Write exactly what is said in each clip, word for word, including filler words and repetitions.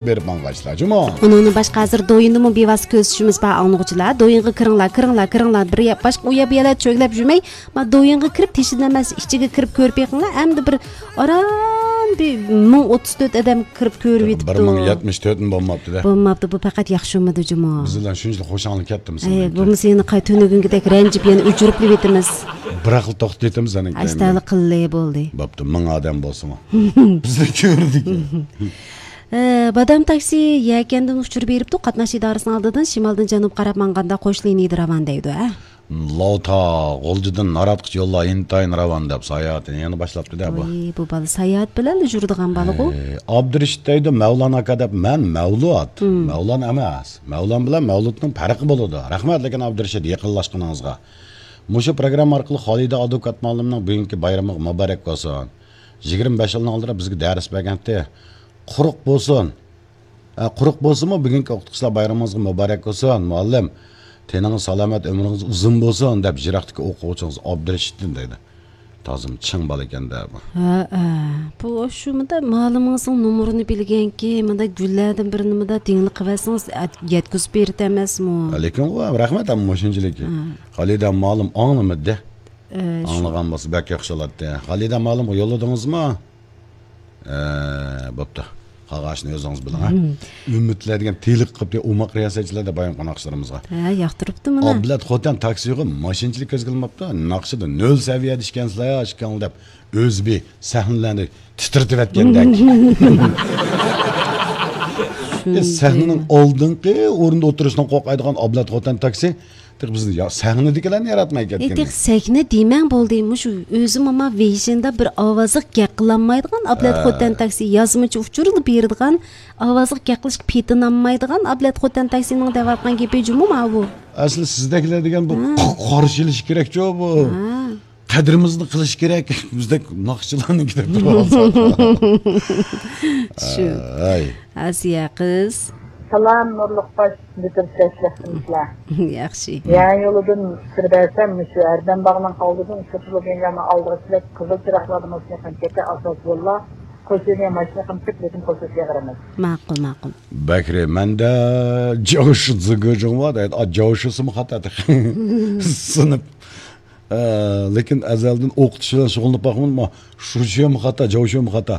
بېرىپ ماڭغايسىلەر جۇمۇ. ئۇنىڭدىن باشقا، ھازىر دويىننىمۇ بىۋاسىتە كۆزىتىشىمىز بار، ئاڭلىغۇچىلار. دويىنغا كىرىڭلار، كىرىڭلار، كىرىڭلار. بىر يا-، باشقا ئۇ يەر بۇ يەرلەردە چۆگىلەپ يۈرمەي، ما، دويىنغا كىرىپ، تېشىدىن ئەمەس، ئىچىگە كىرىپ كۆرۈپ بېقىڭلار. ئەمدى بىر ئاران بىر مىڭ ئوتتۇز تۆت ئادەم كىرىپ كۆرۈۋېتىپتۇ. بىر مىڭ يەتمىش تۆتمۇ بولماپتۇ-دە. بولماپتۇ، بۇ پەقەت ياخشىمىدى جۇمۇ. بىز بىلەن شۇنچىلىك خوش ئاڭلىق كەتتىمىز. ئەي، بولمىسا يەنە قاي-، تۈنۈگۈنكىدەك رەنجىپ يەنە ئۆچۈرۈپلىۋېتىمىز. بىراقلا توختىتىمىز ئەنە كەينىدىن. ئاشتالا قىللى بولدى. بوپتۇ، مىڭ ئادەم بولسىمۇ. بىزنى كۆردى. ئە، بادام تاكسى يەكەندىن ئۇچۇر بېرىپتۇ، قاتناش ئىدارىسىنىڭ ئالدىدىن شىمالدىن جەنۇبقا قاراپ ماڭغاندا قوش لىنىيىدە راۋان دەيدۇ، ھە؟ لاۋتا، غۇلجىدىن ناراتقىچە يوللار ئىنتايىن راۋان دەپ ساياھىتىنى يەنە باشلاپتۇ-دە بۇ. ۋاي، بۇ بالا ساياھەت بىلەنلا يۈرىدىغان بالىغۇ. ئى، ئابدۇرېشىت دەيدۇ، مەۋلان ئاكا دەپ، مەن مەۋلۇت. مەۋلان ئەمەس. مەۋلان بىلەن مەۋلۇتنىڭ پەرقى بولىدۇ. رەھمەت، لېكىن ئابدۇرېشىت، يېقىنلاشقىنىڭىزغا. مۇشۇ پروگرامما ئارقىلىق خالىدە ئادۋوكات مۇئەللىمنىڭ بۈگۈنكى بايرىمىغا مۇبارەك بولسۇن. يىگىرمە بەش يىلنىڭ ئالدىدا بىزگە دەرس بەرگەنتى. قۇرۇق بولسۇن. ئە، قۇرۇق بولسىمۇ، بۈگۈنكى ئوقۇتقۇچىلار بايرىمىڭىزغا مۇبارەك بولسۇن، مۇئەللىم. تېنىڭىز سالامەت، ئۆمرىڭىز ئۇزۇن بولسۇن، دەپ يىراقتىكى ئوقۇغۇچىڭىز ئابدۇرېشىتتىن دەيدۇ. تازىمۇ چىڭ بالا ئىكەن-دە بۇ. ھە، ھە. بۇ شۇ مۇنداق مۇئەللىمىڭىزنىڭ نومۇرىنى بىلگەنكى، مۇنداق گۈللەردىن بىرنى مۇنداق دىڭلىق قىلىۋەتسىڭىز، ئەت-، يەتكۈزۈپ بېرىدۇ ئەمەسمۇ؟ لېكىن ئۇ رەھمەت، ئەمما مۇشۇنچىلىكى. ھە. خالىدە مۇئەللىم ئاڭلىمىدى. ئە، شۇ ئاڭلىغان بولسا بەك ياخشى بولاتتى. خالىدە مۇئەللىمغا يوللىدىڭىزمۇ؟ ئە، بوپتۇ. قالغانىشىنى ئۆزىڭىز بىلىڭ، ھە؟ ئۈمىدلەر دېگەن تېلىق قىپتى ئوماق رىياسەتچىلەر دەپ بايام قوناقلىرىمىزغا. ھە، ياقتۇرۇپتۇ مانا. ئابلەت خوتەن تاكسىغا ماشىنىچىلىك كۆزگە ئىلماپتۇ. ناخشىدا نۆل سەۋىيەدە ئىكەنسىلەر يا، ئىكەنلا دەپ ئۆزى بىر سەھنىلەرنى تىترىتىۋەتكەندەك. ئە، سەھنىنىڭ ئالدىنقى ئورۇندا ئولتۇرۇشتىن قورقايدىغان ئابلەت خوتەن تاكسى تېخى بىزنى يا-، سەھنىدىكىلەرنى ياراتماي ئى، كەتكەن. تېخى سەھنە دېمەڭ بولدى. مۇشۇ ئۆزى ماما ۋېيشىندا بىر ئاۋازلىق گەپ قىلالمايدىغان ئابلەت ھە. خوتەن تاكسى يازمىچە ئۇچۇرلا بېرىدىغان ئاۋازلىق گەپ قىلىشقا پېتىنالمايدىغان ئابلەت خوتەن تاكسىنىڭ دەۋاتقان گېپى جۇمۇ ماۋۇ. ئەسلى سىزدەكلەر دېگەن بۇ ھە. قارشى ئېلىش كېرەكچۇ بۇ. ھە. قەدرىمىزنى قىلىش كېرەك. بىزدەك ناخشىچىلارنىڭكى دەپ تۇرۇۋالساق. شۇ. ئەي. ئاسىيە قىز. سالام، نۇرلۇق باش، بۈتۈن سەتلىقسىزلار. ياخشى. يا يولىدىن سىر بەرسەم، مۇشۇ ھەردەم باغنىڭ ئالدىدىن سىرتىلىپ يەنە ئالدىغا سىلەك قىزىل چىراغلاردىن ماشىنا قېمىپ كەتتى، ئاساس يوللار. قوشۇنى ماشىنا قېمىپ كېتىپ، لېكىن قوشۇش يېغىرىمىز. ماقۇل، ماقۇل. بەكرى، مەندە جاۋشى زىگىجىڭ بار دەيدۇ. ئا، جاۋشىسىمۇ خاتا تېخى. سىنىپ. ئە، لېكىن ئەزەلدىن ئوقۇتۇش بىلەن شۇغۇللىنىپ باقمىدىم. شۇشيۇمۇ خاتا، جاۋشيۇمۇ خاتا.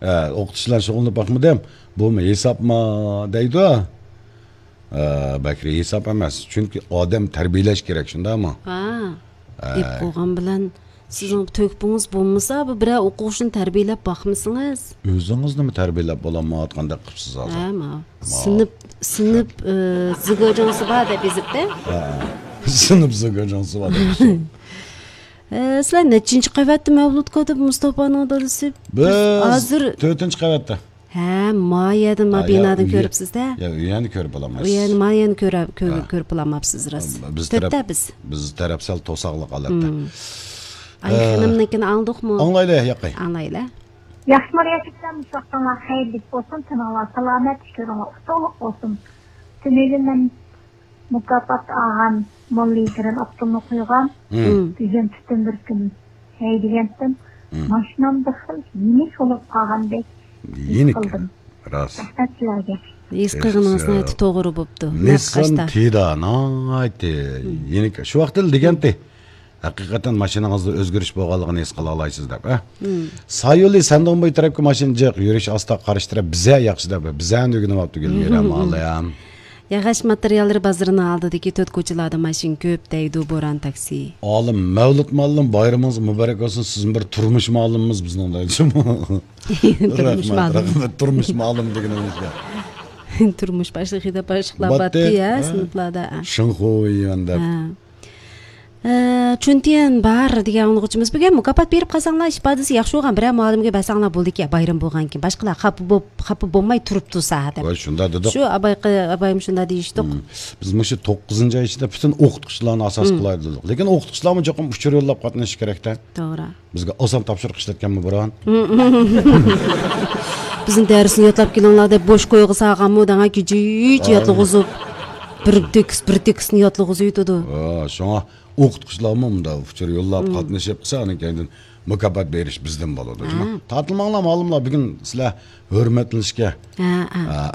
ئە، ئوقۇتۇش بىلەن شۇغۇللىنىپ باقمىدىم. بۇمۇ ھېسابما دەيدۇ. ئە، بەكرى ھېساب ئەمەس. چۈنكى ئادەم تەربىيەلەش كېرەك، شۇنداقمۇ؟ ھا. ئە. دەپ قويغان بىلەن سىزنىڭ تۆھپىڭىز بولمىسا، بۇ بىرەر ئوقۇغۇچىنى تەربىيەلەپ باقمىسىڭىز. ئۆزىڭىزنىمۇ تەربىيەلەپ بولالمايۋاتقاندەك قىپسىز ھازىر. ھە، ماۋۇ. سىنىپ، سىنىپ، ئە، زىگىجىڭسى بار دەپ يېزىپتۇ. ھە. سىنىپ زىگىجىڭسى بار دەپ. ئە، سىلەر نەچچىنچى قەۋەتتە مەۋلۇت كاتىپ مۇستاپانىڭ دادىسى؟ بىز ھازىر تۆتىنچى قەۋەتتە. ھە، ما يەردىن، ما ھە، يا، بىنادىن ئۆيگە، كۆرۈپسىز-دە. يا، ئۆينى كۆرۈپ ئالالمايسىز. ئۇ يەرنى، ما يەرنى كۆرە-، كۆر-، ھە. كۆرۈپ ئالالماپسىز راست. بىز تۆتتە تەرەپ، بىز. بىز تەرەپ سەل توساقلىق ھالەتتە. ھىم. ئاي، ئە، خېنىمنىڭكىنى ئاڭلىدۇقمۇ؟ ئاڭلايلى، ياقەي. ئاڭلايلى. ياخشىمۇ رىياسەتچىلەر، مۇشۇ ۋاقتىڭلار خەيرلىك بولسۇن، تېنىڭلار سالامەت، ئىشلىرىڭلار ئۇتۇقلۇق بولسۇن. تۈنۈگۈن مەن مۇكاپات ئالغان موللا يىگىرمە ئاپتومنى قويغان. ھىم. بۈگۈن پۈتۈن بىر كۈن ھەيدىگەنتىم. ھىم. ماشىنام بىر خىل يېنىك بولۇپ قالغاندەك ھېس قىلدىم. راست. رەھمەت سىلەرگە. ھېس قىلغىنىڭىز ناھايىتى توغرا بوپتۇ. نىسسان تىدا ناھايىتى يېنىك. شۇ ۋاقىتتا دېگەنتى. ھەقىقەتەن ماشىنىڭىزدا ئۆزگىرىش بولغانلىقىنى ھېس قىلالايسىز دەپ، ھە؟ ھىم. سايولى سەندىڭ بوي تەرەپكە ماشىنا جىق، يۈرۈش ئاستا، قارشى تەرەپ بىزە ياخشى دەپ، بىزەنى ئۆگىنىۋاپتۇ گۈلمىرەم ئالەم. ياغاچ ماتېرىياللىرى بازىرىنىڭ ئالدىدىكى تۆت كوچىلاردا ماشىنا كۆپ دەيدۇ بوران تاكسى. ئالىم مەۋلۇت مۇئەللىم، بايرىمىڭىز مۇبارەك بولسۇن، سىزمۇ بىر تۇرمۇش مۇئەللىمىمىز بىزنىڭ دەيدۇ. تۇرمۇش مۇئەللىم. رەھمەت، تۇرمۇش مۇئەللىم دېگىنىڭىزگە. تۇرمۇش باشلىقى دەپ باشلىقلار باتتى، باتتى، يا، ھە؟ سىنىپلاردا، ھە. شىنخۇيۈەن دەپ. ھە. ئە، چۈنتىيەن بار دېگەن ئاڭلىغۇچىمىز بۈگۈن مۇكاپات بېرىپ قالساڭلار، ئىپادىسى ياخشى بولغان بىرەر مۇئەللىمگە بەرسەڭلار بولدىكەن، بايرام بولغانكىن. باشقىلار خاپا بوپ، خاپا بولماي تۇرۇپ تۇرسا دەپ. ۋاي، شۇنداق دېدۇق. شۇ ئابايقى-، ئابايمۇ شۇنداق دېيىشتۇق. ھىم. بىز مۇشۇ توققۇزىنچى ئاي ئىچىدە پۈتۈن ئوقۇتقۇچىلارنى ئاساس قىلايلى دېدۇق. لېكىن ئوقۇتقۇچىلارمۇ چوقۇم ئۇچۇر يوللاپ قاتنىشىشى كېرەك-تە. توغرا. بىزگە ئاسان تاپشۇرۇق ئىشلەتكەنمۇ بۇرۇن. بىزنى دەرسنى يادلاپ كېلىڭلار دەپ بوش كويغا سالغانمۇ دەڭا كېچىچە يادلىغۇزۇپ. بىر تېكىست، بىر تېكىستنى يادلىغۇزۇۋېتىدۇ. ھە، شۇڭا ئوقۇتقۇچىلارمۇ مۇنداق ئۇچۇر يوللاپ قاتنىشىپ قىلسا، ئاندىن كەينىدىن مۇكاپات بېرىش بىزدىن بولىدۇ. تارتىلماڭلار مۇئەللىملەر، بۈگۈن سىلەر ھۆرمەتلىنىشكە، ھە، ھە.